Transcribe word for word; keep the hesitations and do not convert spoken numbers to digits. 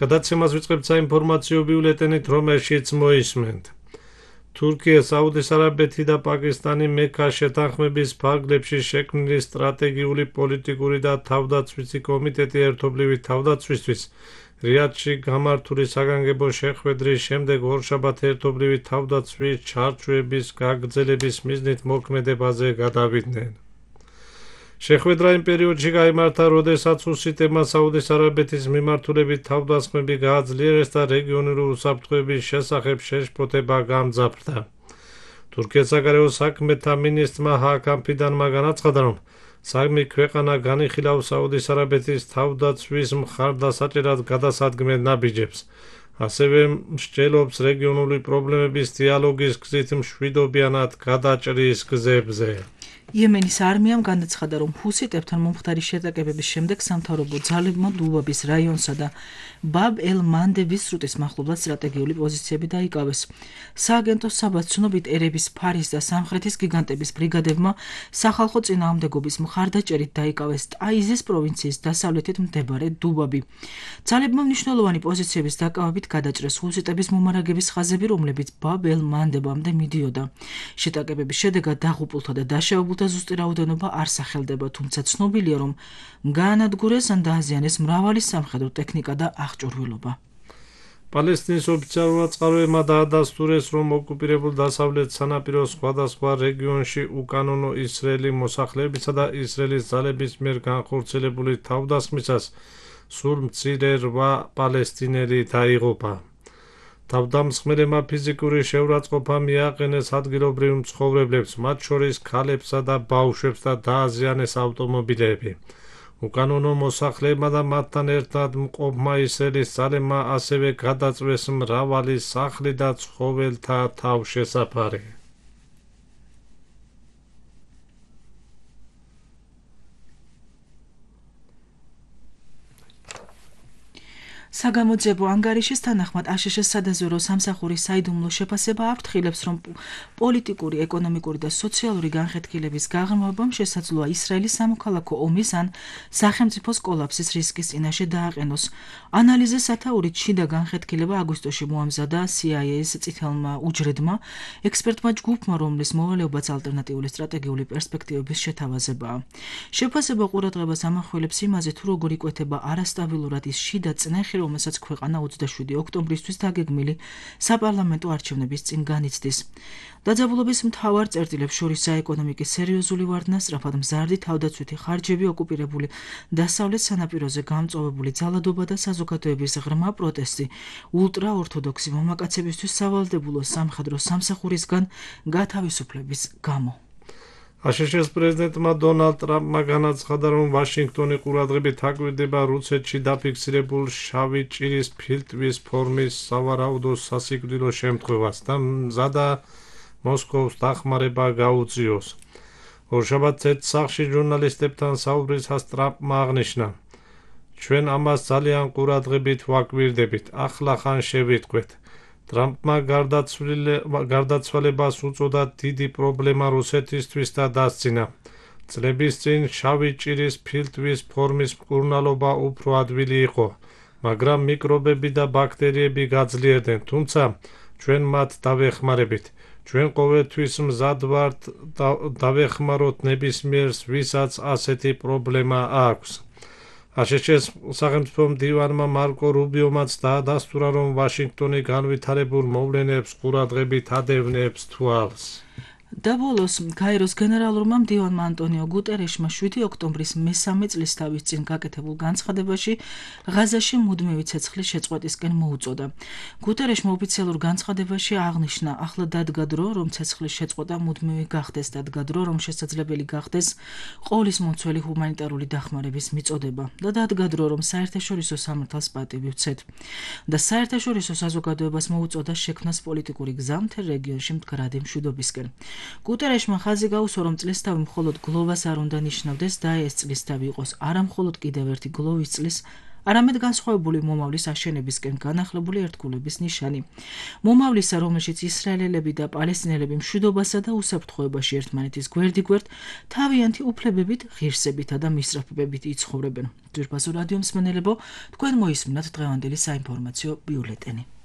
გადაცემას ვიწყებთ საინფორმაციო ბიულეტენით, რომელშიც მოისმენთ. თურქია, საუდის არაბეთი და პაკისტანი მექა შეთანხმების ფარგლებში შექმნილი სტრატეგიული, პოლიტიკური და თავდაცვითი კომიტეტი ერთობლივი თავდაცვისთვის რიადში გამართული საგანგებო შეხვედრის შემდეგ ორშაბათ ერთობლივი თავდაცვის ჩარჩოების გაგრძელების მიზნით მოქმედებაზე გადავიდნენ. შეხვედრა იმ პერიოდში გაიმართა, როდესაც უსიტემა საუდის არაბეთის მიმართულებით თავდასხმები გააძლიერეს და რეგიონული უსაფრთხოების შესახებ შეშფოთება გამძაფრდა. თურქეთის საგარეო საქმეთა მინისტრმა ჰაკან ფიდანმა განაცხადა, რომ სამი ქვეყანა განიხილავს საუდის არაბეთის თავდაცვის მხარდასაჭერად გადასადგმელ ნაბიჯებს. ასევე მსჯელობს რეგიონული პრობლემების დიალოგის გზით მშვიდობიანად გადაჭრის გზებზე. იემენის არმიამ განაცხადა, რომ ჰუსიტებთან მომხდარი შეტაკებების შემდეგ სამთავრობო ძალებმა დუბაბის რაიონსა და ბაბ-ელ-მანდების სრუტის მახლობლად სტრატეგიული პოზიციები დაიკავეს. სააგენტო საბას ცნობით, ერების ფარის და სამხრეთის გიგანტების ბრიგადებმა სახალხო წინააღმდეგობის მხარდაჭერით დაიკავეს ტაიზის პროვინციის დასავლეთით მდებარე დუბაბი. ძალებმა მნიშვნელოვანი პოზიციების დაკავებით გადაჭრეს ჰუსიტების მომარაგების ხაზები, რომლებიც ბაბ-ელ-მანდებამდე მიდიოდა. შეტაკებების შედეგად დაღუპულთა და დაშავებულთა ზუსტი რაოდენობა არ სახელდება, თუმცა ცნობილია, რომ გაანადგურეს ან დააზიანეს მრავალი სამხედრო ტექნიკა და აღჭურვილობა. პალესტინის ოფიციალურმა წყაროებმა დაადასტურეს, რომ ოკუპირებულ დასავლეთ სანაპიროს სხვადასხვა რეგიონში უკანონო ისრაელი მოსახლეებისა და ისრაელის ძალების მიერ განხორციელებული თავდასხმისას სულ მცირე რვა პალესტინელი დაიღუპა. თავდამსხმელებმა ფიზიკური შეურაცხყოფა მიაყენეს ადგილობრივ მცხოვრებლებს, მათ შორის ქალებსა და ბავშვებს და დააზიანეს ავტომობილები. უკანონო მოსახლეებმა და მათთან ერთად მყოფმა ისრაელის ძალებმა ასევე გადაწვეს მრავალი სახლი და ცხოველთა თავშესაფარი. საგამოძიებო ანგარიშის თანახმად აშშ-ის სადაზვერო სამსახურის საიდუმლო შეფასება აფრთხილებს, რომ პოლიტიკური, ეკონომიკური და სოციალური განხეთქილების გაღრმავებამ შესაძლოა ისრაელის სამოქალაქო ომის ან სახელმწიფოს კოლაფსის რისკის წინაშე დააყენოს. ანალიზის სათაურით შიდა განხეთქილება აგვისტოში მოამზადა სი აი ეის წითელმა უჯრედმა, ექსპერტმა ჯგუფმა, რომლის მოვალეობაც ალტერნატიული სტრატეგიული პერსპექტივების შეთავაზებაა. შეფასება ყურადღებას ამახვილებს იმაზე, თუ როგორ იკვეთება არასტაბილურად ის შიდა წნეხი, რომელსაც ქვეყანა ოცდაშვიდი ოქტომბრისთვის დაგეგმილი საპარლამენტო არჩევნების წინ განიცდის. დაძაბულობის მთავარ წერტილებს შორის ეკონომიკის სერიოზული ვარდნა, სწრაფად მზარდი თავდაცვითი ხარჯები, ოკუპირებული დასავლეთ სანაპიროზე გამწვავებული ძალადობა და საზოგადოების ღრმა პროტესტი ულტრაორთოდოქსი მამაკაცებისთვის სავალდებულო სამხედრო სამსახურისგან გათავისუფლების გამო. აშშ-ის პრეზიდენტმა დონალდ ტრამპმა განაცხადა, რომ ვაშინგტონი ყურადღებით აკვირდება რუსეთში დაფიქსირებულ შავი ჭირის ფილტვის ფორმის სავარაუდო სასიკვდილო შემთხვევას და მზადა მოსკოვს დახმარება გაუწიოს. ორშაბათ ცეცხლსახში ჟურნალისტებთან საუბრისას ტრამპმა აღნიშნა, ჩვენ ამას ძალიან ყურადღებით ვაკვირდებით, ახლა ხან შევიტყვეთ. ტრამპმა გარდაცვალებას უწოდა დიდი პრობლემა რუსეთისთვის და დასძინა. წლების წინ შავი ჭირის ფილტვის ფორმის მკურნალობა უფრო ადვილი იყო, მაგრამ მიკრობები და ბაქტერიები გაძლიერდნენ, თუმცა ჩვენ მათ დავეხმარებით. ჩვენ ყოველთვის მზად ვართ დავეხმაროთ ნებისმიერს, ვისაც ასეთი პრობლემა აქვს. აშშ-ის სახელმწიფო მდივანმა მარკო რუბიომაც დაადასტურა, რომ ვაშინგტონი განვითარებულ მოვლენებს ყურადღებით ადევნებს თვალს. და ბოლოს გაეროს გენერალურმა მდივანმა ანტონიო გუტერეშმა შვიდი ოქტომბრის მესამე წლისთავის წინ გაკეთებულ განცხადებაში ღაზაში მუდმივი ცეცხლის შეწყვეტისკენ მოუწოდა. გუტერეშმა ოფიციალურ განცხადებაში აღნიშნა, ახლა დადგა დრო, რომ ცეცხლის შეწყვეტა მუდმივი გახდეს, დადგა დრო, რომ შესაძლებელი გახდეს ყოვლისმომცველი ჰუმანიტარული დახმარების მიწოდება და დადგა დრო, რომ საერთაშორისო სამართალს პატივი ვცეთ. და საერთაშორისო საზოგადოებას მოუწოდა შექმნას პოლიტიკური გზა მთელ რეგიონში მდგრადი მშვიდობისკენ. გუტერეშმა ხაზი გაუსვა, რომ წლისთავი მხოლოდ გლოვას არ უნდა ნიშნავდეს და ეს წლისთავი იყოს არა მხოლოდ კიდევ ერთი გლოვის წლის არამედ განსხვავებული მომავლის აშენებისკენ განახლებული ერთგულების ნიშანი. მომავლისა, რომელშიც ისრაელელები და პალესტინელები მშვიდობასა და უსაფრთხოებაში ერთმანეთის გვერდიგვერდ თავიანთი უფლებებით, ღირსებითა და მისწრაფებებით იცხოვრებენ. ძვირფასო რადიო მსმენელებო, თქვენ მოისმინათ დღევანდელი საინფორმაციო ბიულეტენი.